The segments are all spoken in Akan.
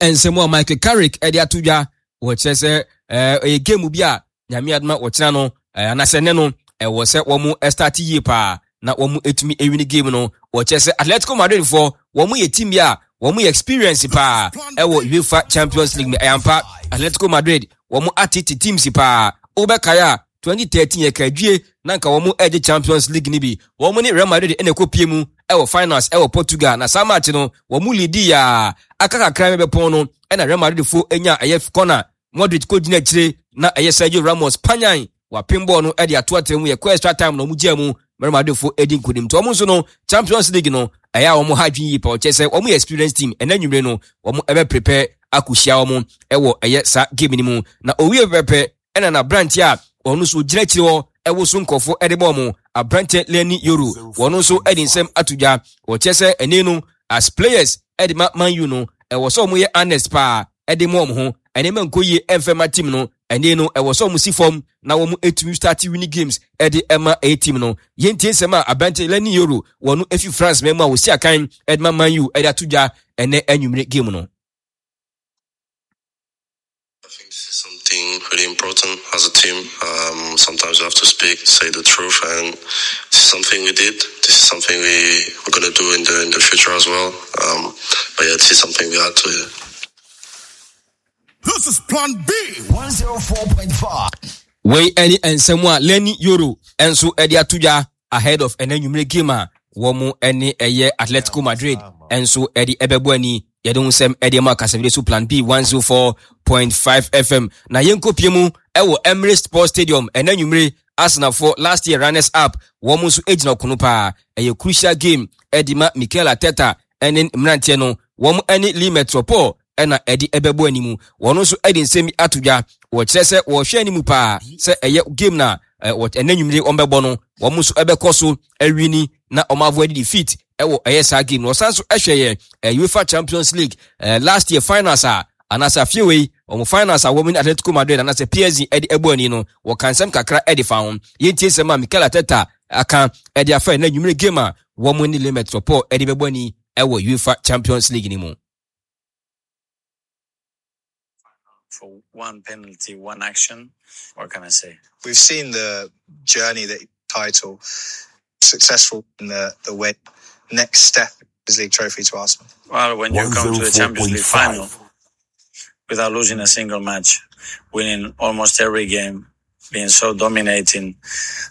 Nsɛm a Michael Carrick de ato dwa wɔkyerɛ sɛ ɛyɛ game bi a Nyame adoma wɔkyena no anaasɛ nnɛ no ɛwɔ sɛ wɔn start yie paa na wɔn etumi ewini game no. Wɔkyerɛ sɛ Atletico Madrid foɔ wɔn yɛ team bi a wɔn yɛ experience paa ɛwɔ UEFA Champions League no. Ɛyɛ ampa, Atletico Madrid wɔn atete teams paa. Wobɛkae a 2013 yɛ kadwie na nka wɔn ɛgye Champions League no bi. Wɔn ne Real Madrid ɛna ɛkɔ pie mu ɛwɔ finals ɛwɔ Portugal na saa match no wɔn leadi yaa aka kakra bɛpɔn no ɛna Real Madrid fo enya ɛyɛ corner. Modric kɔgyina akyire na ɛyɛ Sergio Ramos panyan wapem bɔɔl no de ato atra mu. Yɛkɔ extra time na wɔn gyaa mu. Real Madrid fo di nkonim. Nti wɔn nso no Champions League no ɛyɛ a wɔn ha adwene yie pa. Ɔkyɛ sɛ wɔn yɛ experienced team. Ɛnɛ nwumire no wɔn ɛbɛ prepare akɔhyia wɔn ɛwɔ ɛyɛ saa game no mu. Na owie pɛpɛpɛ ɛna n'aberanteɛ a ɔno nso gyina akyire hɔ ɛwoso nkurɔfoɔ ɛde bɔ wɔn, aberanteɛ Leny Yoro, wɔn nso ɛde nsɛm ato dwa. Ɔkyɛ sɛ ɛnɛ no as players ɛde ma Man U no ɛwɔ sɛ wɔn yɛ honest paa de ma wɔn ho. Nneɛma nkɔ yie mfa mma team no. Ɛnne no, ɛwɔ sɛ wɔn si fam na wɔn tumi start winning games de ma ɛyɛ team no. Yɛntie nsɛm a aberante Leny Yoro wɔ no efi France man mu a wɔsi akan de ma Man U de ato dwa ɛnɛ anwummere game no. I think this is something really important as a team. Sometimes you have to speak, say the truth, and this is something we did. This is something we're going to do in the future as well. But yeah, this is something we had to do. This is Plan B 104.5. Wei ɛne nsɛm a Leny Yoro nso de ato dwa ahead of ɛnɛ nwumire game a wɔn ne ɛyɛ Atletico Madrid nso de ɛbɛbɔ ani. Yɛde ho nsɛm de ma kasafidie so Plan B 104.5 FM. Na yɛnkɔpie mu ɛwɔ Emirates Sports Stadium ɛnɛ nwumire. Arsenalfoɔ last year runners up wɔn nso gyina ɔkono paa. Ɛyɛ crucial game de ma Mikel Arteta ne mmeranteɛ no. Wɔn ne Lille Metropole na ɛde ɛbɛbɔ anim. Wɔn nso de nsɛm bi ato dwa. Wɔkyerɛ sɛ wɔhwɛ anim paa sɛ ɛyɛ game na ɛnɛ nwumire wɔn bɛbɔ no, wɔn nso ɛbɛkɔ so awini na wɔn avoid defeat ɛwɔ ɛyɛ saa game no. Wɔsan nso ɛhwɛ yɛ UEFA Champions League last year finals a anaasɛ afie wei wɔn finals a wɔn ne Atletico Madrid anaasɛ PSG ɛde ɛbɔ ani no, wɔka nsɛm kakra ɛde fa ho. Yɛntie nsɛm a Mikel Arteta aka ɛde afa ɛnɛ nwumire game a wɔn ne Lille Metropole ɛde bɛbɔ ani ɛwɔ UEFA Champions League no mu. For one penalty, one action, what can I say? We've seen the journey that title successful in the way next step is League trophy to Arsenal. Well, when you come to the Champions League final without losing a single match, winning almost every game, being so dominating,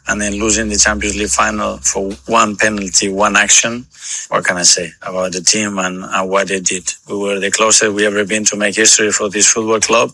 and then losing the Champions League final for one penalty, one action. What can I say about the team and what they did? We were the closest we ever been to make history for this football club.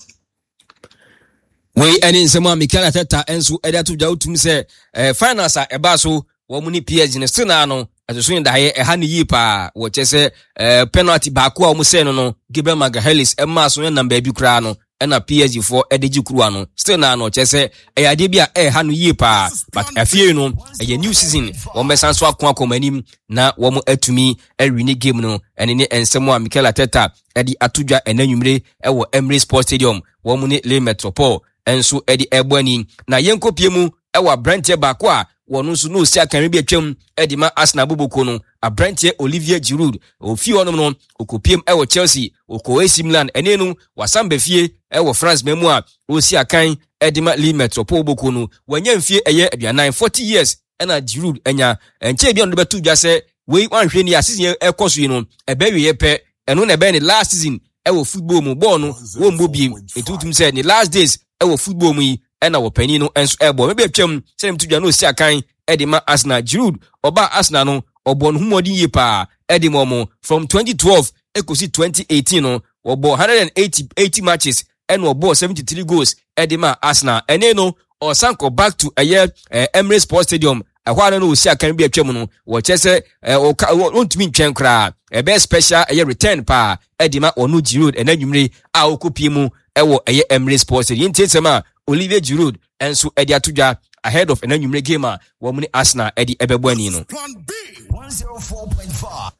Wei ɛne nsɛm a Mikel Arteta nso ɛde ato dwa. Wotum sɛ finals a ɛbaa so wɔn ne PSG no still naa no ɛsoso ne daeɛ ɛha ne yie paa. Wɔkyɛ sɛ penalty baako a wɔn sɛɛ no Gabriel Magalhaes ɛmaa so nam baabi koraa no ɛna PSG foɔ ɛde gye kuruwa no. Still naa no kyerɛ sɛ ɛyɛ adeɛ bi a ɛha no yie paa, but afie no ɛyɛ new season, wɔn bɛsan so ako akɔ wɔn anim na wɔn atumi awi ne game no. Ɛne ne nsɛm a Mikel Arteta ɛde ato dwa ɛnɛ nwumire ɛwɔ Emirates Sports Stadium, wɔn ne Le Metropole nso ɛde ɛbɔ ani. Na yɛnkɔpie mu ɛwɔ aberanteɛ baako a wɔn nso na osi akanwe bi atwam ɛde ma Arsenal boboko no, aberanteɛ Olivier Giroud. Ofie hɔnom no okopiem ɛwɔ Chelsea, okɔ AC Milan, ɛne no wasan ba fie ɛwɔ France man mu a osi akan ɛde ma Le Metropole boboko no. Wanya mfie ɛyɛ 40, 40 years ɛna Giroud anya. Ɛnkyɛn bi a ɔno de bɛto dwa sɛ wei wanhwɛ ni a season ɛkɔ so yi no ɛbɛwieɛ pɛ, ɛno na ɛbɛyɛ ne last season ɛwɔ football mu. Bɔɔl no wɔmmɔ biem, nti wotum sɛ ne last days ɛwɔ football mu yi ɛna wɔpanin no nso ɛbɔ. Mɛbi atwam sɛ ne to dwa na osi akan ɛde ma Arsenal. Giroud ɔbaa Arsenal no ɔbɔ ne ho mmɔden yie paa ɛde ma ɔmo from 2012 ekosi 2018 no, wɔbɔ 180 matches ɛna ɔbɔɔ 73 goals ɛde ma Arsenal. Ɛne no ɔsan kɔ back to ɛyɛ Emirates Sports Stadium ɛhɔ a no osi akan bi atwam no. Wɔkyɛ sɛ ɔka ɔntumi ntwɛn koraa, ɛbɛyɛ special ɛyɛ return paa ɛde ma ɔno Giroud ɛna nwumire a ɔkɔpie mu ɛwɔ ɛyɛ Emirates Sports Stadium. Yɛntie nsɛm a Olivier Giroud nso ɛde ato dwa ahead of ɛna nwumire game a wɔn ne Arsenal ɛde ɛbɛbɔ ani no. Plan B 104.5.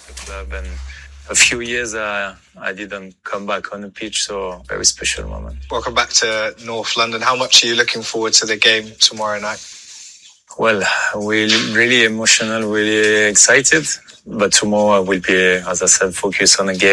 The club and a few years I didn't come back on the pitch, so very special moment. Welcome back to North London. How much are you looking forward to the game tomorrow night? Well, we're really emotional, really excited. But tomorrow I will be, as I said, focused on the game.